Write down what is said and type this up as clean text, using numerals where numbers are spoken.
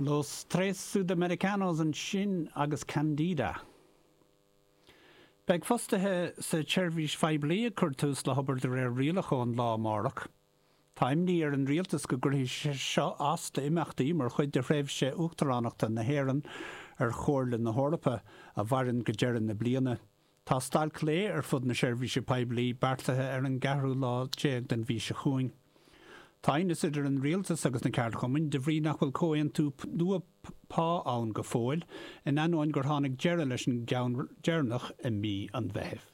Los Tres Sudamericanos ansin agus Candida. Beidh fostaithe sa tseirbhís phoiblí ag cur tús le hobair de réir rialach ón lá amárach. Tá imní ar an rialtas go gcuirfidh sé seo as d'imeachtaí mar chuid de thréimhse uachtaránachta na hÉireann ar Chomhairle na hEorpa, a mhaireann go deireadh na bliana. Tá stailc lae ar fud na seirbhíse poiblí beartaithe ar an gceathrú lá déag den mhí seo chugainn. Tá aighneas idir an rialtas agus na ceardchumainn de bhrí nach bhfuil comhaontú nua pá ann go fóill, in ainneoin gur tháinig deireadh leis an gceann deireanach i mí an Mheithimh.